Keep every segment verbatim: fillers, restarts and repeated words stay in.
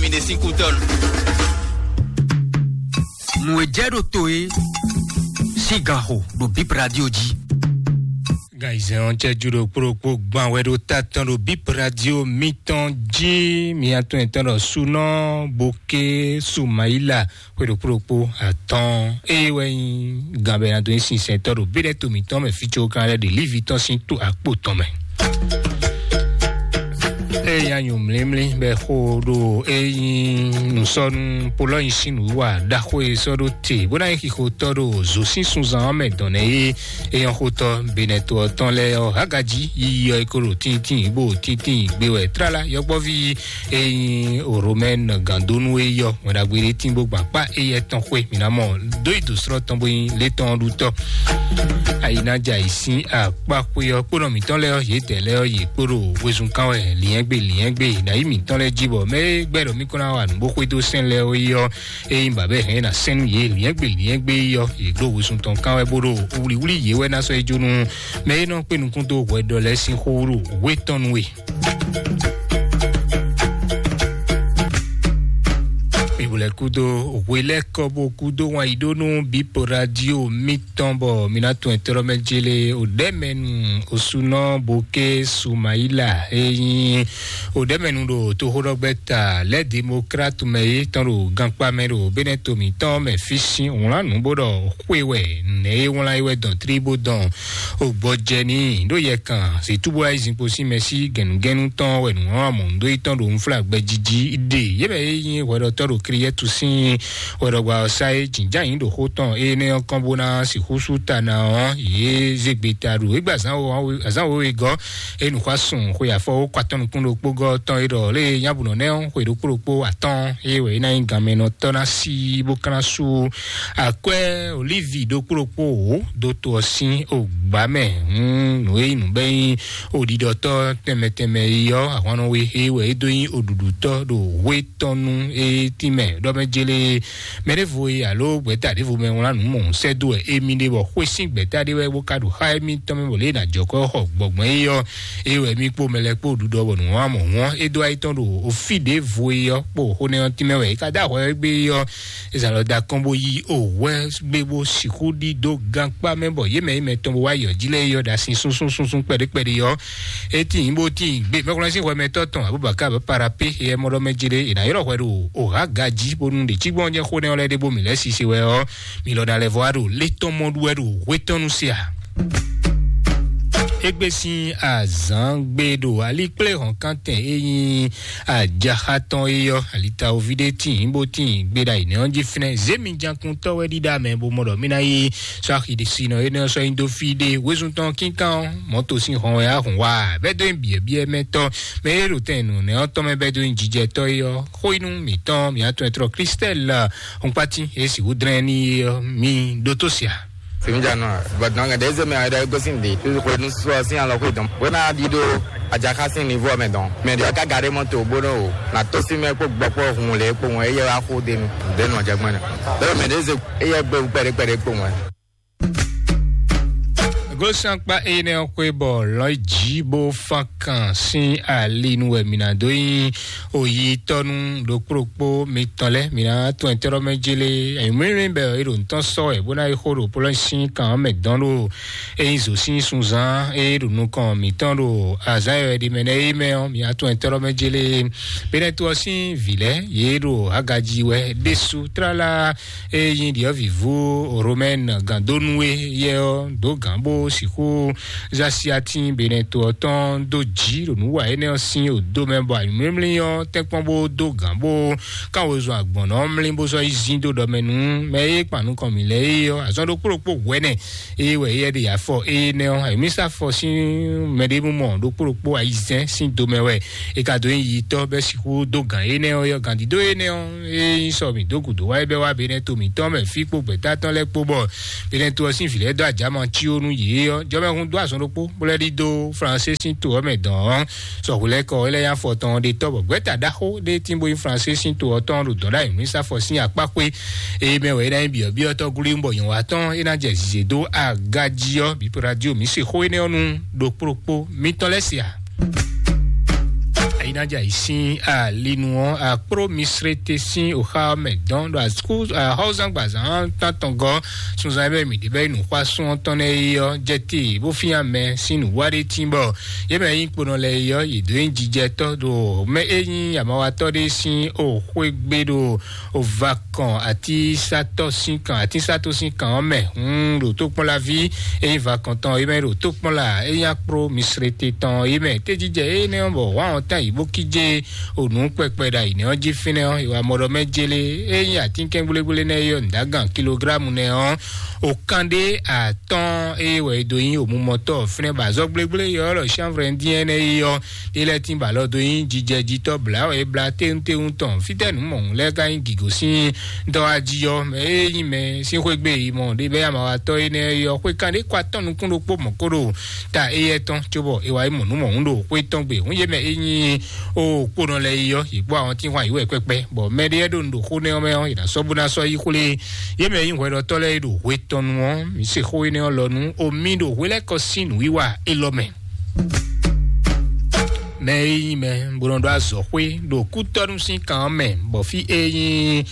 Mi ɖe sín kútɔ́ nu. Nǔ e jɛ ɖo to e sín gan xo ɖo Bip Radio jí. Gan ayizɛ́n ɔ́ cɛ́jú ɖokpó ɖokpó gban wɛ ɖo ta tɔn ɖo Bip Radio mitɔn jí. Mi atɔn etɔn ɖɔ Sunɔ Boké Sumayila xwe ɖokpó ɖokpó atɔ́ɔ́n. Ée wɛ nyí gan bɔ è nǎ dó nyí sinsɛntɔ́ ɖo béɖɛ́ to mǐtɔn mɛ fí có kan lɛ́ɛ ɖe lívi tɔn sín tó akpó tɔn mɛ. Ée nyí anyǔmlímlí bɔ è xo ɖo é nyí nǔsɔ́nú Polɔ́nyi sín nǔwiwa ɖaxó e sɔ́ ɖó te bó ná nyí xixotɔ́ ɖo zǒ sín sunzan ɔ́ mɛ dɔn nɛ́ é. É nyɔ́ xotɔ́ Benɛto ɔ́ tɔn lɛ́ɛ ɔ́, hágají yiyi ɔ́ é ko ɖo tíntín bó ɖo tíntín gbé wɛ tlala yɔkpɔ́ví e nyí Romɛ́n gǎndónú é yɔ wɛn ɖagbe ɖé tín bó gban kpá éyɛ́ tɔn xwé. Mǐ ná mɔ dó yi dǒ slɔ́ tɔn bó nyí létɔn ɔ́ ɖutɔ́. Ayi ná jɛ ayǐ sín akpá xwé ɔ́ kpónɔ mǐtɔn lɛ́ɛ ɔ́, yědɛɛ lɛ́ɛ ɔ́, yě kpo ɖo wezun kán wɛ lǐnyɛ́gbe lǐnyɛ́gbe ɖo ayǐ mǐtɔn lɛ́ɛ jí bɔ mɛ e gbɛ́ ɖɔ mí kɔn ná wa nǔ bó xwedó sɛ́n lɛ́ɛ ɔ́ é nyí bǎbɛ́ hɛn ná sɛ́n nú yě lǐnyɛ́gbe lǐnyɛ́gbe é yɔ́, yě ɖo wezun tɔn kán wɛ bó ɖo wlíwlí yě wɛ ná sɔ́ yi jó nú mɛ e nɔ kpé nukún dó hwɛɖɔ lɛ́ɛ sín xó wú ɖo wé tɔn nú we. Mǐ bo lɛ́ kúdó hwe lɛ́ɛ kɔ bó kúdó wanyíɖónú Bípo Radio mitɔn bɔ mǐ ná tunwun ɛtɛ́ mɛ jélé Odɛ́mɛnu Osunɔ Boké Sumayila e nyí Odɛ́mɛnu ɖo toxóɖɔgbɛ́ta lɛ́ Demokrat mɛ é tɔn ɖo gankpá mɛ ɖo Benɛto mǐtɔn mɛ fí sín wlán nǔ bó ɖɔ xwe wɛ nɛ̌ é wlán é wɛ dɔn tlí bó dɔn. O gbɔjɛ n'i ɖó yɛ kan zǐtúbú ayizínkpo sín mɛsí gɛ̌nugɛ́nú tɔn wɛ nǔ hɔn amɔ̌ dó yi tɔn ɖo unflágbɛ jiji ɖe yě mɛ e nyí hwɛɖɔtɔ́ ɖo Kliyɛ́tu sín hwɛɖɔgba ɔ́ sá é jǐnján yǐ ɖo xó tɔn énɛ́ ɔ́ kɔn bó ná sixú sú ta ná ɔ́, yě zé gbe ta ɖo égbé azǎn wěwé gɔ́ é nǔxwásún xwe afɔ wó kɔ atɔ́ nukún ɖokpó gɔ́ tɔn é ɖɔ lé nyábǔnɔ nɛ́ ɔ́ xwe ɖokpó ɖokpó atɔ́ɔ́n é wɛ é ná nyí ganmɛnɔtɔ́ ná sí bó ká ná sú akwɛ́ olívi ɖokpó ɖokpó wǒ dó to ɔ́ sín ogbǎ mɛ. Hǔn nǔ e nyí nǔ bɛ́ nyí oɖiɖɔtɔ́ tɛnmɛ tɛnmɛ e ɔ́, ahwannɔ we é wɛ é dó nyí oɖuɖutɔ́ ɖo hwé tɔn nú é tínmɛ ɖɔ mɛ jélé mɛ ɖěvo e alo gbɛ̌ta ɖěvo mɛ wlán nǔ mɔ̌hun sɛ́ dó wɛ émí ɖe bɔ xwé sín gbɛ̌ta ɖé wɛ bó ka ɖo xá émítɔn mɛ bɔ lě e è nǎ jɔ kɔ xɔ gbɔgbɔn é ɔ́, é wɛ mí kpó mɛ lɛ́ɛ kpó ɖuɖɔ bɔ nǔwanmɔ̌hun ɔ́ é dó ayí tɔn ɖo fí ɖěvo é ɔ́ kpó xó nɛ́ ɔ́ tínmɛ wɛ é ka dó ahwɛ wɛ gbé é ɔ́, é zǎn lɔ dó akɔ́n bó yí òwú wɛ gbé bó sixú ɖidó gankpá mɛ bɔ yě mɛ e mɛtɔn bó wá yɔ jí lɛ́ɛ é ɔ́ ɖo asin súnsún súnsún kpɛɖé kpɛɖé ɔ́, é tíin bó tíin gbé mɛkúnlá sín hwɛmɛtɔ́ tɔn Abubakar Parape é mɔ ɖɔ mɛ jí ɖé è nǎ ylɔ́ hwɛ ɖo òhá gají bónú ɖě cí gbɔn jɛ xó nɛ́ ɔ́ lɛ́ɛ ɖé bó mǐ lɛ́ sise wɛ ɔ́, mi lɔ ná lɛ́ vɔ wá ɖo lé tɔn mɔ ɖu wɛ ɖo hwé tɔn nu se a? Égbé sín azǎn gbé ɖo alikpléhɔ̌nkántɛn e nyí ajaxa tɔn é ɔ́, alitawoví ɖé tíin bó tíin gbé ɖo ayǐnɛ́ ɔ́ jí fínɛ́. Zěmijakuntɔ́ wɛ ɖíɖá mɛ bó mɔ ɖɔ mí ná yí sɔ́ axi ɖé sinɔ énɛ́ ɔ́ sɔ́ nyi dó fí ɖé. Wezun tɔn kínkán ɔ́, mɔ̌to sín hɔn wɛ á hun wá bɛ́ dó nyi byɔ̌byɔ́ mɛ tɔn mɛ e ɖo tɛn nǔnɛ́ ɔ́ tɔn mɛ bɛ́ dó nyi jijɛtɔ́ é ɔ́, xó yi nú mǐtɔn mǐ atɔn e tlɔ Klistɛ́l Xunpátín e sixú dlɛ́n n'i é ɔ́, mi ɖótó se a? Simi jano, but non, des me ada go sin di. Tu ko nu so sin ala ko dom. Wena di do aja ka sin niveau mɛ dɔn. Mɛ di ka gare mɔ to bono. Na to sin mɛ ko gbɔ ko hun le ko won eye wa ko de nu. De no jagmana. De me des eye be pere pere ko won. Gosankpa ene xwe bɔ lɔ dzi bó fán kan sín ali nu wɛ mǐ ná dó nyí oyitɔ́nu ɖokpó ɖokpó mitɔn lɛ́ɛ. Mǐ ná tɔn ɛtɛ́ɖɔ́ mɛ jélé. Mǐmlímlí bɛ é ɖo nǔtɔn sɔ́ wɛ bó ná yi xó ɖo polɔ́ sín kan ɔ́ mɛ dɔn ɖo é nyí zǒ sín sunzán é ɖo nukɔn mǐtɔn ɖo azǎn e wɛ ɖi mɛ nɛ́ é mɛ ɔ́, mǐ ná tɔn ɛtɛ́ɖɔ́ mɛ jélé. Benɛto ɔ́ sín vǐ lɛ́ɛ yě ɖo agají wɛ ɖésú tlala. Eye nyí ɖiɔ̌vǐvú Romɛ́n gǎndónú e yɛ ɔ́ dó gǎn bó sixú zá síatín Benɛto ɔ́ tɔn dó jǐ ɖo nǔ wa énɛ́ ɔ́ sín odo mɛ, bɔ anyǔmlímlí ɔ́ tɛ́nkpɔ́n bó dó gǎn bó kán wezun agbɔ̌n ɔ́ mlí bó sɔ́ yi zín dó ɖɔ mɛ nú mɛ e kpan nukɔn mǐ lɛ́ɛ é ɔ́. Azɔn ɖokpó ɖokpó hwɛ̌nɛ eye wɛ éyɛ́ ɖe afɔ énɛ́ ɔ́, ayǐmísá fɔ sín mɛɖémúmɔ ɖokpó ɖokpó ayizɛ́n sín do mɛ wɛ è ka dó nyi yitɔ́ bɛ́ sixú dó gǎn énɛ́ ɔ́ yɔ. Gǎndídó énɛ́ ɔ́, é nyí sɔ mǐ dó gǔdo wá é bɛ́ wá Benɛto mǐtɔn mɛ fí kpó gbɛ̌ta tɔn lɛ́ɛ kpó bɔ Benɛto ɔ́ sín vǐ lɛ́ɛ dó ajǎ ma cí ó nú yě ɔ́. Jɔmɛhun dó azɔn ɖokpó bó lɛ́ ɖidó Fransé sín to ɔ́ mɛ dɔn ɔ́, sɔxwilɛ́kɔ ɔ́ lɛ́ nyí afɔ tɔn ɖe tɔ́ bɔ gbɛ̌ta ɖaxó ɖé tín bó nyí Fransé sín to ɔ́ tɔn ɖo dɔ̌ ɖo ayǐmísá fɔ sín akpá xwé. Eye mɛ wɛ é ná nyí byɔ̌byɔ́tɔ́ glín bɔ nyɔ̌watɔ́ é ná jɛ zǐzé dó aga jí ɔ́, Bípo Radio mǐ se xó énɛ́ ɔ́ nú ɖokpó ɖokpó mitɔn lɛ́ɛ se a? Iná jɛ ayǐ sín alinu ɔ́, akpló Misrete sín òxa ɔ́ mɛ dɔn ɖo asú ahɔ́zángbazán tántɔn gɔ́ sunzan e mɛ mǐ ɖe bɛ́ yi nǔxwásún ɔ́ tɔn nɛ́ é ɔ́ jɛ te bó fín amɛ sín nǔwá ɖé tín bɔ yě mɛ nyí kponɔ lɛ́ɛ é ɔ́, yě dó nyí jijɛtɔ́ ɖo mɛ e nyí amawatɔ́ ɖé sín òxwé gbé ɖo ovakɔn atínsatɔ́ sín kan, atínsatɔ́ sín kan ɔ́ mɛ. Hun ɖo tókpɔ́nlaví e nyí vakɔn tɔn é mɛ ɖo tókpɔ́nla e nyí akpló Misrete tɔn é mɛ. Téjijɛ énɛ́ ɔ́ bɔ wǎn ɔ́ tán yi bó kíjé onǔ kpɛkpɛ ɖo ayǐ nɛ́ ɔ́ jí fínɛ́ ɔ́, è wǎ mɔ ɖɔ mɛ jélé e nyí atínkɛ́ngblégblénɛ́ é ɔ́ nǔdágan kilográmu nɛ́ ɔ́, òkanɖé atɔ́ɔ́n eye wɛ è dó nyí òmumɔtɔ́ fínɛ́ bɔ azɔ̌ gblégblé yɔ́ lɔ chanvre ndín énɛ́ é ɔ́, é lɛ́ tín bɔ alɔ dó nyí jijɛjitɔ́ blǎ wɛ é blá téwúntéwún tɔn. Fítɛ́ nǔ mɔ̌hun lɛ́ɛ ka nyí gǐgosín dɔ́ wá jí ɔ́, mɛ e nyí mɛ sín xwé gbe yi mɔ ɖé bɛ́ amawatɔ́ énɛ́ é ɔ́, xwé kanɖé kɔ atɔ́ nukún ɖokpó mɔ̌ kó ɖo ta éyɛ́ tɔn, cóbɔ è wá yi mɔ nǔ mɔ̌hun ɖo xwé tɔn gbe. Hǔn yě mɛ e nyí o kponɔ lɛ́ɛ yi ɔ́, yě kpó àwọn tí wọ́n yǐ wɛ kpɛkpɛ, bɔ mɛ ɖé lɛ́ɛ ɖo nǔ ɖo xó nɛ́ ɔ́ mɛ ɔ́, yě ná sɔ́ bó ná sɔ́ yí xwlé yě mɛ e nyí hwɛɖɔtɔ́ lɛ́ɛ e ɖo hwe tɔn nu ɔ́. Mǐ se xó énɛ́ ɔ́ lɔ nú omi ɖo hwe lɛ́ɛ kɔ sín nǔwiwa élɔ́ mɛ. Mɛ e nyí mɛ bó nɔ ɖó azɔ̌xwé ɖo kútɔ́nú sín kan ɔ́ mɛ, bɔ fí e nyí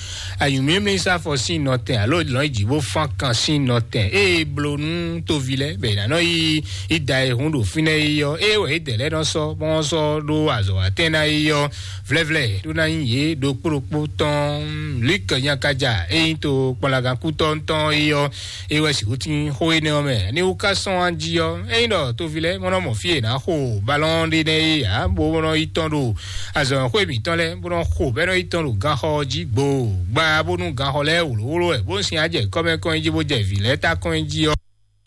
anyǔmlímlí sáfɔ sín nɔtɛn alo lɔ̌nyijǐ bó fán kan sín nɔtɛn e bló nú toví lɛ́ɛ bɔ è nǎ nɔ yí ida e hun ɖo fínɛ́ é ɔ́, é wɛ é dɛ̌ lɛ́ɛ nɔ sɔ́ bɔ wọ́n sɔ́ ɖó azɔ̌watɛn ná é ɔ́. Vlɛ́vlɛ́ ɖó ná nyí yě ɖokpó ɖokpó tɔn. Luk nyakaja e nyí to kpɔnlagán kútɔ́ tɔn é ɔ́, é wɛ sixú tín xó énɛ́ ɔ́ mɛ. Ní wú ká sɔ́n wá jí ɔ́, ényí ɖɔ toví lɛ́ɛ mɔ nɔ mɔ fí e è nǎ xo balɔ́n ɖé nɛ́ é ǎ, bó nɔ yi tɔn ɖo azɔ̌xwé mǐtɔn lɛ́ɛ, bó nɔ xo bɛ́ nɔ yi tɔn ɖo ganxɔ ɔ́ jí gbo, gbá bónú ganxɔ lɛ́ɛ wlǒwló wɛ, bó sin á jɛ kɔ́mɛkɔ́n jí bó jɛ vǐ lɛ́ɛ tá kɔn jí ɔ́.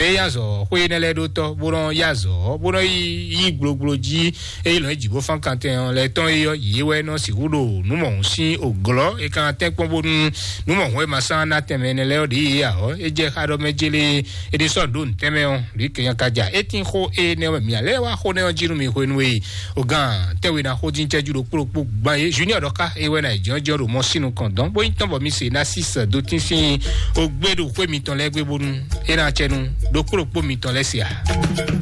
Ée yá azɔ̌ xwé énɛ́ lɛ́ɛ ɖó tɔ́, bó nɔ yí yí gblogblo jí, ée lɔ̌n jǐ bó fán kantɛn ɔ́ lɛ́ɛ tɔn é ɔ́, yě wɛ nɔ sixú ɖo nǔ mɔ̌hun sín òglɔ́. É ka tɛ́nkpɔ́n bónú nǔ mɔ̌hun e ma sán ná tɛnmɛ énɛ́ lɛ́ɛ ɔ́ ɖě yě ǎ ɔ́, é jɛ xá ɖɔ mɛ jélé é ɖé sɔ́ ɖó nǔtɛ́nmɛ ɔ́, ɖě kɛnya ka ja. É tín xó énɛ́ ɔ́ mɛ mǐ ǎ lɛ́ɛ wá xó nɛ́ ɔ́ jí nú mi hwenu e ogán tɛ́nwe ná xó dín cɛ́jú ɖokpó ɖokpó gbán é. Junior ɖɔ ká é wɛ ná yi jɔ́njɔ́n ɖo mɔ sínu kɔn dɔn, bó nyí tɔn bɔ mi se ná sí sɛ dó tín sín ogbé ɖo xwé mitɔn lɛ́ɛ gbé bónú é ná cɛ nú ɖokpó ɖokpó mitɔn lɛ́ɛ se ǎ.